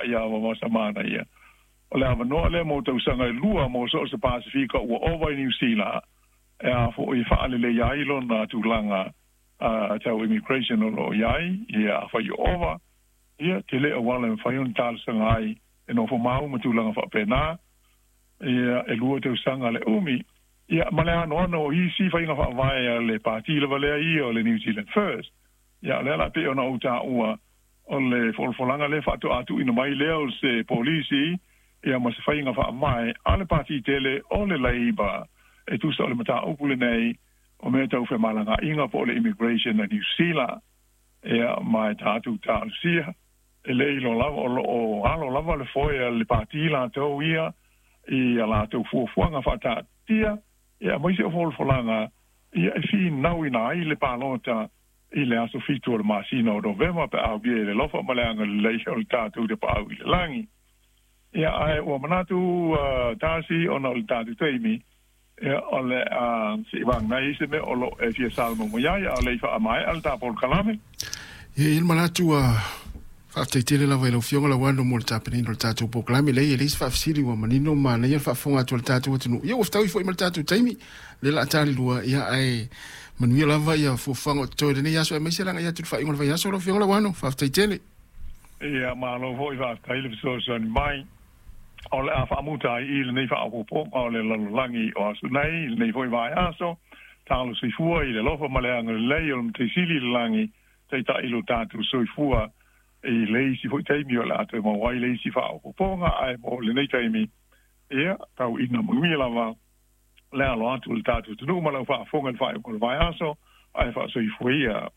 ia Vaovaosa Manaia, o le avanoa lea mo tausaga e 2 mo so o se Pasefika ua ova i Niu Sila e a foʻi faaleleia ai lona tulaga tau immigration o loo i ai. Ia, afai ua ova, ia tele auala e mafai ona talosaga ai e nofo mau ma tulaga faapena. Ia, e 2 tausaga le umi. Ia, ma le anoano o isi faiga faavae a le pati lava lea ia o le New Zealand First. Ia, o lea la pei ona ou taua, o le folafolaga lea faatoa tuuina mai lea o se polisi, ia, ma se faiga faavae a le pati tele o le Labour e tusa o le mataupu lenei o mea tau femalagaaiga po o le immigration a Niu Sila. Ia, ma e tatou talosia, e le iloa lava o loo alo lava le foe a le pati latou ia i a latou fuafuaga faataatia, ia, aemaise o folafolaga ia e finauina ai le palota i le aso 7 o le masina o Novema, pe a uia i le alofa ma le agalelei o le tatou Tapaau i le lagi. Ia, ae ua manatu tasi ona o le tatou taimi, ia, o le a seʻi vagnai ai se mea o loo e fia saunoa mai ai, a o le i faamaea le ta polokalame. Ia, e i ai le manatu ua faafetai tele lava i lau Afioga Lauano mo le tapenaina o le tatou polokalame. Leai, e leai se faafesili, ua manino ma manaia le faafofoga atu a le tatou atunuu. Ia, ua fetaui foi ma le tatou taimi, lea o le a talilua. Ia, ae manuia lava ia fuafuaga o totoe i lenei aso, aemaise le agai atu i le faaiuga o le vaiaso lau Afioga Lauano. Faafetai tele. Ia, malo foi, faafetai le fesoasoani mai. O le a faamuta ai i lenei faaopoopoga o le lalolagi o aso nei, i lenei foi vaiaso. Talo soifua i le alofa ma le agalelei o le Matai Sili i le lagi, taitai lo tatou soifua i le isi foi taimi o le a toe maua ai le isi faaopoopoga. Ae mo lenei taimi, ia, tau ina manuia lava le alo atu o le tatou atunuu ma lau faafofoga i le faaiuga o le vaiaso, ae faasoifua ia.